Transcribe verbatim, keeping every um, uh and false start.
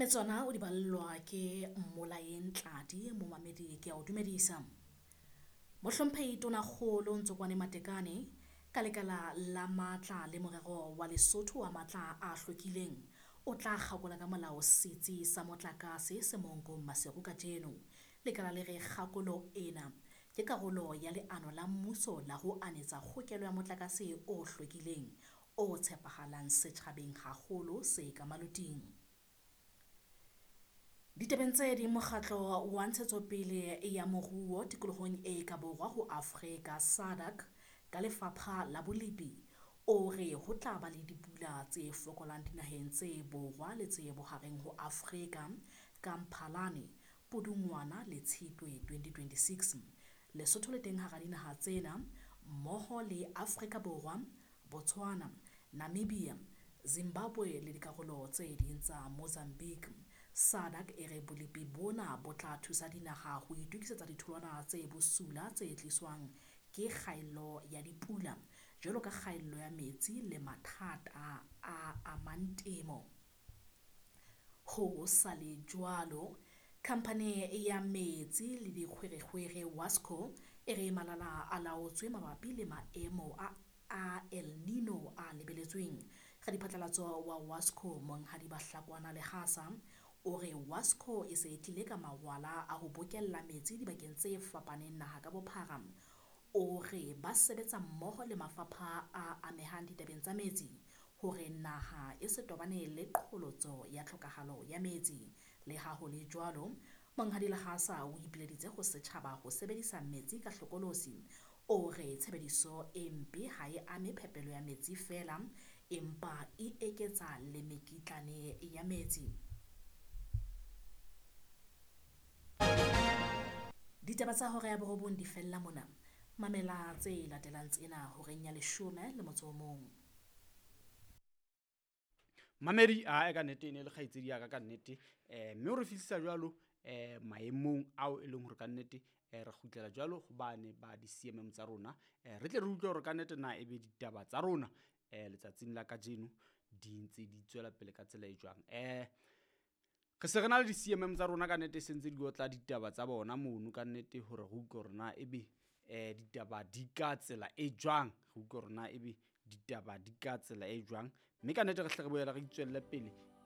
Mme tsona o di ballwa ke Mmolaeng Tladi, momamedi ke a o dumedisa. Mohlomphehi Tonakgolo Ntsokoane Matekane ka lekala la matla le morero wa Lesotho wa matla a hlwekileng o tla kgakola ka molao setsi sa motlakase se Mohokong Maseru kajeno. Lekala le re kgakolo ena ke karolo ya leano la mmuso la ho anetsa kgokelo ya motlakase o hlwekileng o tshepahalang setjhabeng haholo se ka maloting. Ditabeng tse ding, mokgatlo wa ntshetsopele ya moruo tikolohong e ka borwa ho Afrika SADC ka lefapha la bolepi o re ho tla ba le dipula tse fokolang dinaheng tse borwa le tse bohareng ho Afrika ka Mphalane, Pudungwana le Tshitwe twenty twenty-six. Lesotho le teng hara dinaha tsena mmoho le Afrika Borwa, Botswana, Namibia, Zimbabwe le dikarolo tse ding tsa Mozambique. SADC e re bolepi bona bo tla thusa dinaha ho itokisetsa ditholwana tse bosula tse tliswang ke kgaello ya dipula jwalo ka kgaello ya metsi le mathata a amang temo. Ho sa le jwalo, khamphane ya metsi le dikgwerekgwere WASCO e re malala a laotswe mabapi le maemo a a El Nino a lebeletsweng. Radiphatlalatso wa WASCO Monghadi Bahlakwana Lehasa o re WASCO e se e tlile ka mawala a ho bokella metsi dibakeng tse fapaneng naha ka bophara. O re ba sebetsa mmoho le mafapha a amehang ditabeng tsa metsi hore naha e se tobane le qholotso ya tlhokahalo ya metsi. Le ha ho le jwalo, Monghadi Lehasa o ipileditse ho setjhaba ho sebedisa metsi ka hlokolosi. O re tshebediso e mpe ha e ame phepelo ya metsi feela, empa e eketsa le mekitlane ya metsi. Ditaba tsa hora ya borobong di fella mona. Mamela tse latelang tsena horeng ya leshome le motso o mong. Mamedi a ka nnete e ne le kgaitsedi ya ka ka nnete, eh mme o re fihlisa jwalo eh maemong ao e leng hore ka nnete eh re kgutlela jwalo hobane ba di C M M tsa rona, eh re tle re utlwe hore ka nnete na ebe ditaba tsa rona eh letsatsing la kajeno di ntse di tswela pele ka tsela e jwang. Eh re se re na le di C M M tsa rona ka nnete se ntse di otla ditaba tsa bona mono ka nnete hore re utlwe hore na ebe eh ditaba di ka tsela e jwang, re utlwe hore na ebe ditaba di ka tsela e jwang, mme ka nnete re hle re boela re itswelle pele